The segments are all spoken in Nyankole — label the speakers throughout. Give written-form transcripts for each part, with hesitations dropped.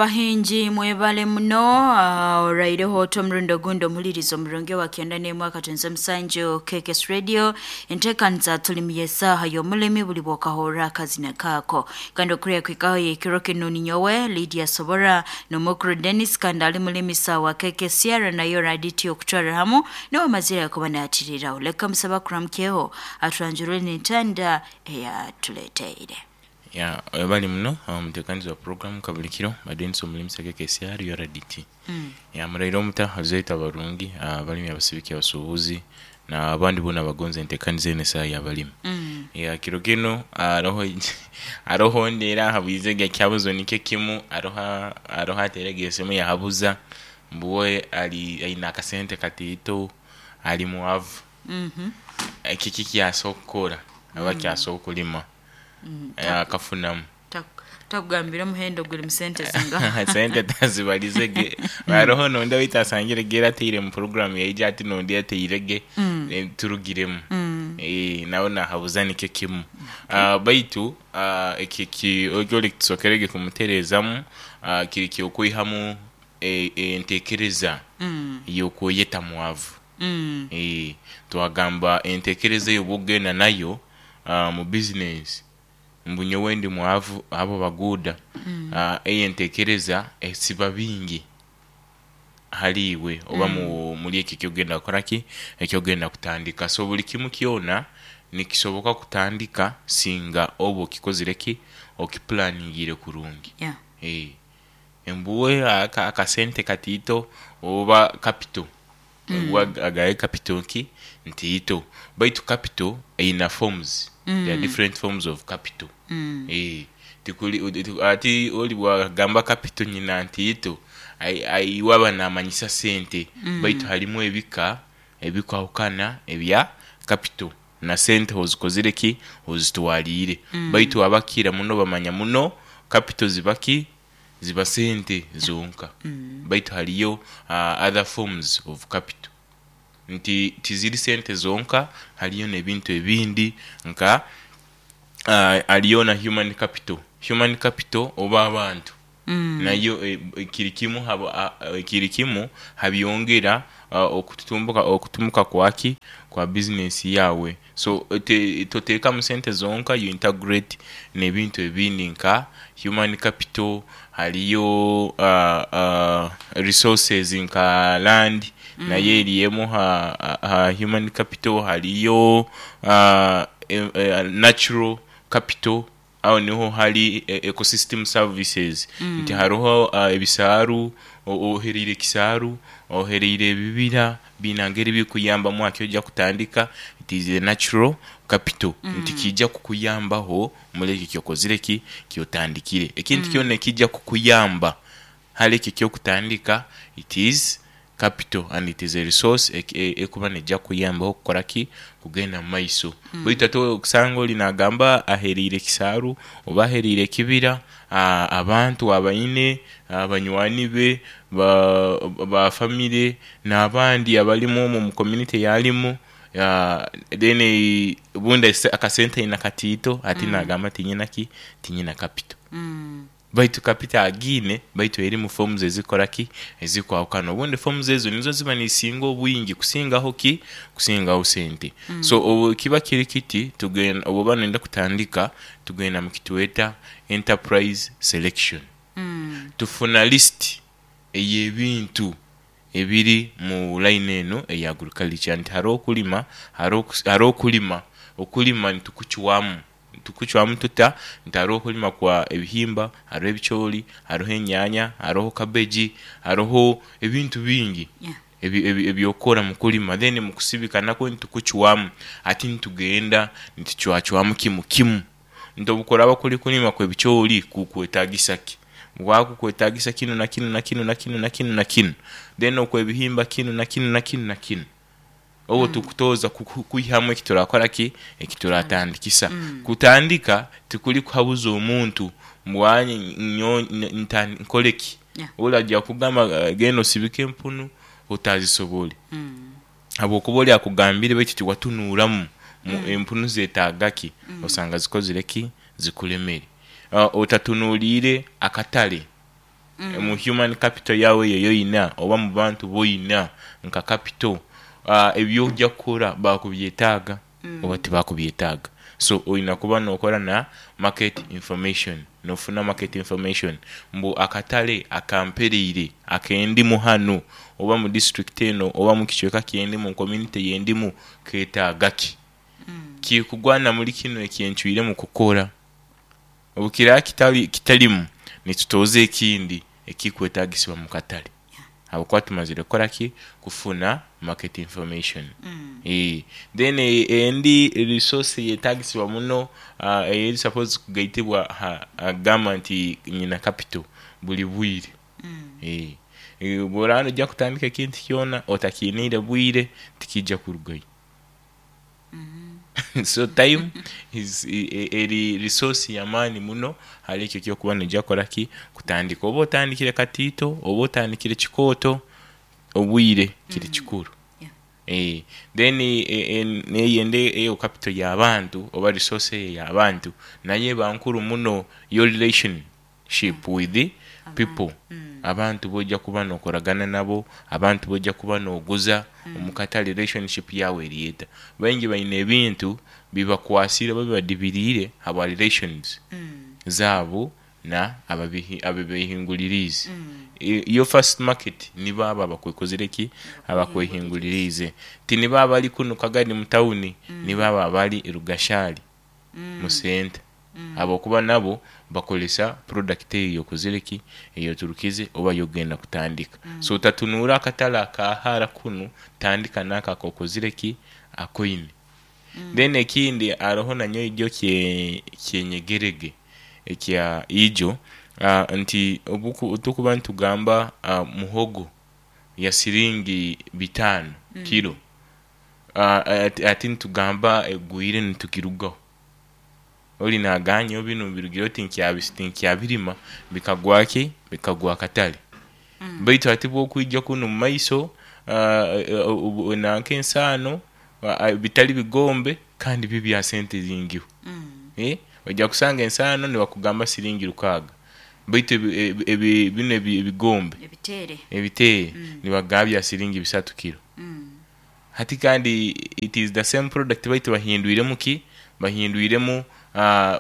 Speaker 1: Bahingi mwebale muno oraireho oti omurundi ogundi omuhuririza omurungi owa kyenda n'emwe akatonze omusanju KKS Radio enteekaniza tuli y'esaaha y'omulimi buli bwokahurra akazina kaako kandi okuriya kwikaho y'ekiro kinu ninyowe Lydia Sobora n'omukuru Dennis kandi ali mulimisa wa KKCR nayo raditi okutwarra hamu niwe amazire kuba naatiriraho leka musaba kuramukyeho atwanjurire n'entanda eyatuleteire.
Speaker 2: Ya webale muno omutekanizi wa puroguramu kabulikiro Denis omulimisa KKCR URDT. Ya muraire omuta abazaire abarungi, abalimi, abasibiki, abasubuzi na abandi boona abagonza entekaniza enu esaaha y'abalimi. Ya kiro kinu haroho haroho ondi era ahabwizege ekihabuzo nikyo kimu haroho haroho ateirege esimu yahabuza mbu we ali aine akasente kataito ali mwavu. Kiki ekyasobola kukora oba kyasobola okulima akafunamu?
Speaker 1: Takugambire omuhendo guri mu sente zingaha?
Speaker 2: Sente tazibarize ge haroho nondi owaitu asangire ge era ataire mu puroguramu yaija hati nondi ataire ge turugiremu nawe nahabuza nikyo kimu. Baitu eki ori tusokerege kumutereezamu kiri ky'okwihamu entekereza y'okweyeta mwavu. Twagamba entekereza eyo obu okugenda nayo mu bizinesi mbu nyowe ndi mwavu abo baguuda, eyo entekereza esiba bingi ahari iwe oba omuri ekyo eky'okugenda kukora ki? Eky'okugenda kutandika. So buri kimu kyona nikisoboka kutandika singa oba okikozire ki? Okipulaningiire kurungi. Mbu we akasente kataito oba kapito, agahe kapito ki? Ntaito. Baitu kapito eine forms, there are different forms of capital. Tikuri hati ori bwagamba kapito nyina ntaito, iwe aba namanyisa sente baitu harimu ebika ebikwahukana ebya kapito na sente ozikozire ki? Ozitwariire. Baitu abakira muno bamanya muno kapito ziba ki? Ziba sente zonka. Baitu hariyo other forms of capital. Nti tiziri sente zonka, hariyo n'ebintu ebindi nka hariyo na human capital. Human capital oba abantu nayo kiri kimu kiri kimu ha byongera okututumbuka okutumuka kwaki? Kwa bizinesi yaawe. So toteekamu sente zonka, you integrate n'ebintu ebindi nka human capital, hariyo resources nka land nayo eri emwe aha human capital, hariyo natural capital Aho niho hari ecosystem services nti hariho ebisaaru, ohereire ekisaaru, ohereire ebibira biine ngeri ebirikuyambamu aha kyoija kutandika, it is a natural capital nti kiija kukuyambaho omuri ekyo ekyokozire ki? Kyotandikire. Ekintu kyona ekija kukuyamba hare ekyo ekyokutandika it is capital and it is a resource ekuba neija kukuyambaho kukora ki? Kugenda mu maiso. Baitu hati okusanga ori nagamba ahereire ekisaaru oba ahereire ekibira, abantu abaine, banywani be, ba famire n'abandi abarimu omwo omu community ei arimu, then obundi akasente aine kataito hati nagamba tinyine ki? Tinyine capital. Baitu kapito agiine, baitu erimu forms ezikora ki? Ezikwahukana. Obundi forms ezo nizo ziba nizisinga obwingi kusingaho ki? Kusingaho sente. So obu kiba kiri kiti, tugenda obu oba noyenda kutandika, tugenda mu kitweta enterprise selection. Tufuna list ey'ebintu ebiri mu line eno eya agriculture nti hariho okulima, hariho okulima, okulima nitukucwamu. Tukucwamu tuta nti hariho okulima kwa ebihimba, hariho ebicoori, hariho enyaanya, hariho kabeegi, hariho ebintu bingi eby'okukora mu kulima. Then mu kusibika nakwo nitukucwamu. Hati nitugenda nitucwacwamu kimu kimu nti obu kuraaba kuri kulima kw'ebicoori kukwetagisa ki? Bwaba kukwetagisa kinu na kinu na kinu na kinu na kinu na kinu. Then okw'ebihimba kinu na kinu na kinu na kinu. Obwo tukutooza kwihamu eki turakora ki? Eki turatandikisa. Kutandika tikuri kuhabuza omuntu mbu anye nyowe nkore ki? Ori aija kukugamba genda osibike empunu otazisobore. Habwokuba ori akugambire baitu tiwatunuuramu empunu zetaaga ki, osanga zikozire ki? Zikuremere. Otatunuuriire akatare. Omu human capital yaawe eyo ei oina oba mu bantu bu oina nka capital, ebi orikugya kukora baakubyetaaga oba tibaakubyetaaga. So oina kuba nookora na market information, noofuna market information mbu akatare akampereire akendimu hanu oba mu disiturikiti eno oba mu kicweka kyendimu, mu community yendimu keetaaga ki? Kirikugwana muri kinu ekyencwiremu kukora? Obu kiraba kitari kitarimu, nitutooza ekindi ekirikwetaagisibwa mu katare ahabw'okuba tumazire kukora ki? Kufuna market information. Then endi resource eyetaagisibwa muno eri suppose kugaitibwa aha kugamba nti nyine capital buri bwire. Obu oraba noija kutandika ekintu kyona otakiiniire bwire, tikiija kurugayo. So time is eri resource y'amaani muno ahari ekyo eki orikuba noija kukora ki? Kutandika. Oba otandikire katiito, oba otandikire kikooto, obwire kiri kikuru. Then n'eyindi eyo capital y'abantu oba resource eyo ey'abantu nayo eba nkuru muno, your relationship with people, abantu b'oija kuba nookoragana nabo, abantu b'oija kuba nooguza omu katare relationship yaawe eri eta? Baingi baine ebintu bibakwasire oba bibadibiriire ahabwa relations zaabo na ababehinguririize. Your first market nibo abo abakwekozire ki? Abakwehinguririize. Ti nibo abari kunu Kagadi mu tawuni, nibo abo abari Rugashari mu senta. Ahabw'okuba nabo bakoresa product eyo ey'okozire ki? Ey'oturukize oba ey'okugenda kutandika. So otatunuura akatare aka hara kunu, tandika n'ako ak'okozire ki? Akoine. Then ekindi hariho na nyowe iryo kyenyegerege ekya ijo nti obu turikuba nitugamba muhogo ya siringi bitaano kiro, hati nitugamba egwire nitugirugaho. Ori nagamba nyowe binu birugireho tinkyabirima bikagwa ki? Bikagwa akatare. Baitu hati bwokwija kunu omu maiso nanka ensaano bitari bigombe kandi byo bya sente zingiho. Oija kusanga ensaano nibakugamba siringi rukaaga baitu binu ebigombe ebiteere nibakugamba bya siringi bisatu kiro. Hati kandi it is the same product baitu bahindwiremu ki? Bahindwiremu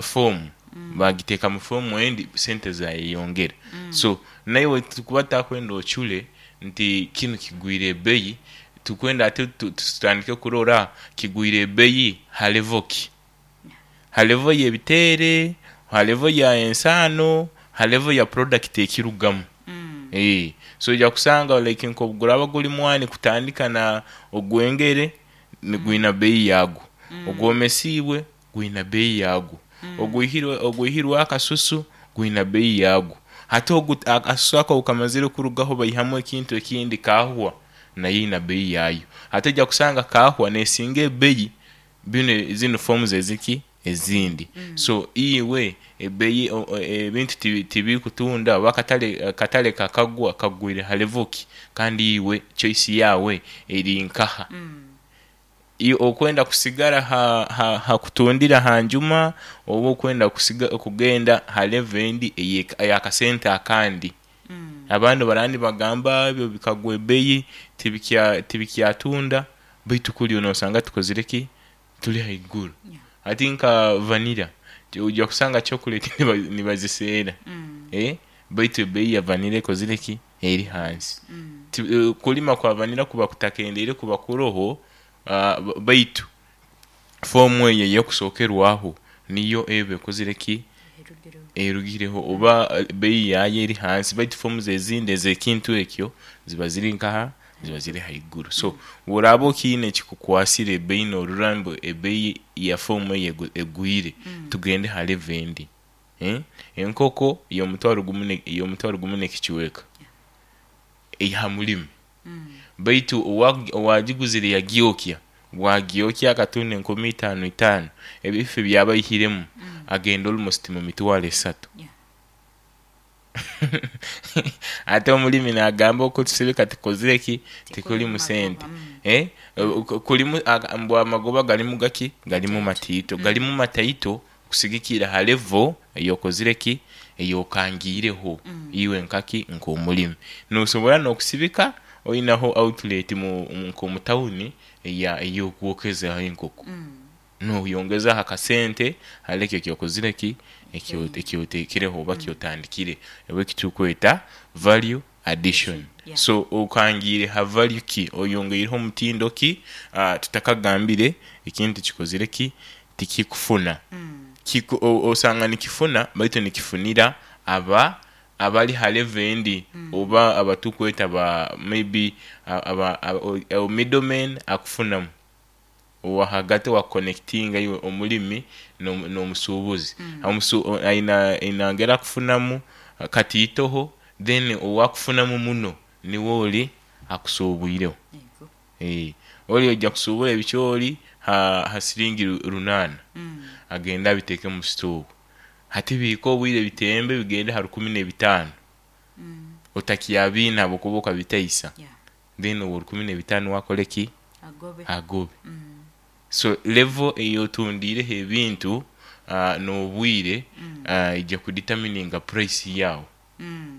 Speaker 2: form bagiteeka mu form endi sente zayeyongera. So naiwe titukuba tutakwenda ocure nti kinu kigwire ebeyi, tukwenda ate tutandike kurora kigwire ebeyi ha level ki? Ha level y'ebiteere, ha level ya ensaano, ha level ya product ekirugamu. So oija kusanga like nk'obuguraba guri mwani kutandika na ogwengere nigwina beeyi yagwo, ogwomesiibwe gwina beeyi yagwo, ogwihirwe akasusu gwina beeyi yagwo. Hati akasusu ako obukamazire kurugaho baihamu ekintu ekindi kaahwa nayo eine beeyi yaayo. Hati oija kusanga kaahwa neesinga ebeeyi Binu zinu forms eziki ezindi so iwe ebeyi ebintu tibikutunda oba akatare kakagwa kagwire ha level ki kandi iwe choice yawe eri nkaha? Iwe okwenda kusigara ha kutundira ha njuma oba okwenda kugenda ha level endi eyakasente akandi? Abandi baraba nibagamba ebyo bikagwa ebeyi tibikyatunda baitu kuri nosanga tukozire ki? Turi haiguru. Hati nka vanilla oija kusanga chocolate nibaziseera baitu ebeeyi ya vanilla ekozire ki? Eri hansi. Okurima kwa vanilla kuba kutakendeire kuba kuroho baitu foomu eyo eyokusookerwaho niyo eba ekozire ki? Erugireho oba beeyi yaayo eri hansi baitu forms ezindi ez'ekintu ekyo ziba ziri nkaha? Ziba ziri haiguru. So bw'oraaba okiine ekikukwasire ebeeyi noorora ngu ebeeyi ya foomu eyo egwire, tugende ha level endi. Enkoko y'omutwaro gumu y'omutwaro gumu n'ekicweka eya murimi. Baitu owagiguzire yagyokya, bwagyokya akatunda enkumi itaano itaano, ebifi ebi aba aihiremu agenda almost mu mitwaro esatu. Ate omurimi nagamba okutusibika tikozire ki? Tikurimu sente. Kurimu mbu amagoba garimu gaki? Garimu mataito. Garimu mataito kusigikirra ha level ei okozire ki? Eyokangiireho iwe nkaki nk'omulimi nosobora n'okusibika oinaho outlet nk'omu tawuni ey'okwokezaho enkoko, noyongezaho akasente hali ekyo ekyokozire ki, ekyotekereho oba kyotandikire oba ekitukweta value addition. So okangiire ha value ki, oyongeireho omutindo ki? Tutakagambire ekintu kikozire ki, tikikufuna. Osanga nikifuna baitu nikifunira aba abali ha level endi oba abatukweta ba maybe middleman akufunamu owahagati owakukonectinga iwe omulimi n'omusuubuzi. Aina ngeri akufunamu katiitoho, then owakufunamu muno niwe oli akusuubwireho. Oli oija kusuubura ebicoori ha siringi 800, agende abiteeke mu sitoowa. Hati bihike obwire bitembe bigende ha 1005, otakyabiine ahabw'okuba okabitaisa, then owa 1005 we akore ki? Agobe. So level ey'otundiireho ebintu n'obwire ija kudetermininga price yaawe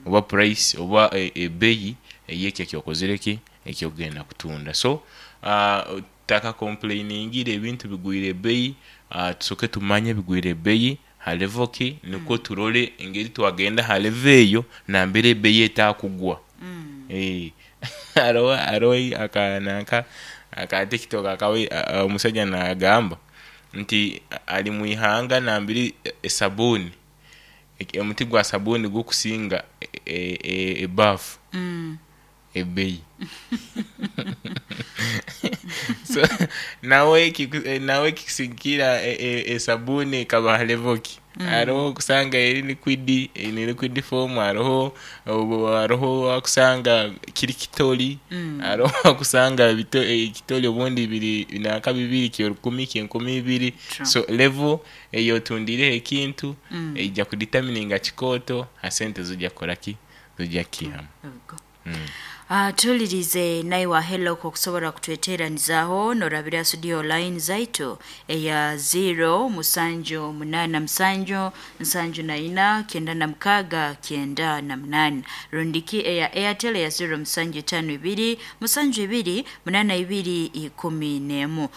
Speaker 2: oba price oba ebeeyi ey'ekyo ekyokozire ki? Ekyokugenda kutunda. So tutakakompleiningire ebintu bigwire ebeeyi, tusooke tumanye bigwire ebeeyi ha level ki nikwo turole engeri twagenda ha level eyo nambere ebeeyi etakugwa. Haroho nanka aka tiktok omusaija nagamba nti ari mwihanga nambere esabuuni, omuti gwa sabuuni gukusinga ebaafu ebeeyi. So nawe kikusigikira esabuuni ekaba ha level ki? Haroho okusanga eri liquid, eine liquid form, haroho owakusanga kiri kitori, haroho owakusanga ekitori obundi biri nanka bibiri ky'orukumi, ky'enkumi ibiri. So level ey'otundiireho ekintu eija kudetermininga kikooto ha sente z'oija kukora ki? Z'oija kukiihamu.
Speaker 1: Tuwulirize naiwe ahelo okusobora kutweteranizaaho norabira studio line zaitu eya 0 7 8 7 74 98 rundiki eya Airtel eya 0 7 52 72 82 11.